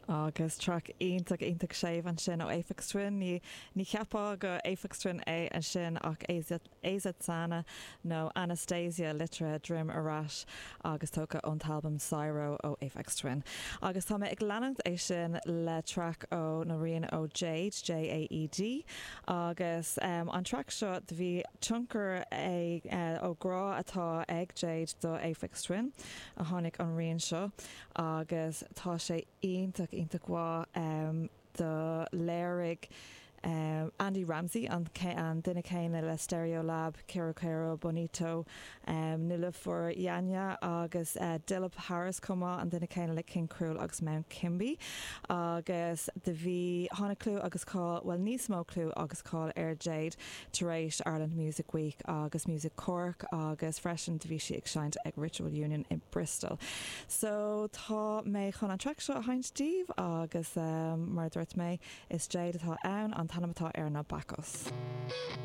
Agus traic iontach, iontach séimh ansin ó Aphex Twin. Ní, ní cheapfá gur Aphex Twin é ansin ach Azatsana nó Anastasia litrithe droim ar ais agus tógtha ón t-albam Syro ó Aphex Twin. Agus tá mé ag leanacht é sin le traic ó, nó rian ó Jade, J-A-E-D, agus an traic seo do bhí tionchar é ó grá atá ag Jade do Aphex Twin a tháinig an rian seo. agus tá sé iontach, iontach mhaith. Do léirigh Andy Ramsey, an duine céanna le Stereolab, Kero Kero Bonito, Nilüfer Yanya agus Dilip Harris chomh maith, an duine céanna le King Krule agus Mount Kimbie. Agus do bhí, tháinig clú agus cáil, bhuel níos mó clú agus cáil ar Jade tar éis Ireland Music Week agus Music Cork agus freisin do bhí sí ag seinnt ag Ritual Union i Bristol. So tá mé chun an traic seo a sheinnt daoibh agus mar a dúirt mé is Jade atá ann, an t-ainm atá air ná Bacchus.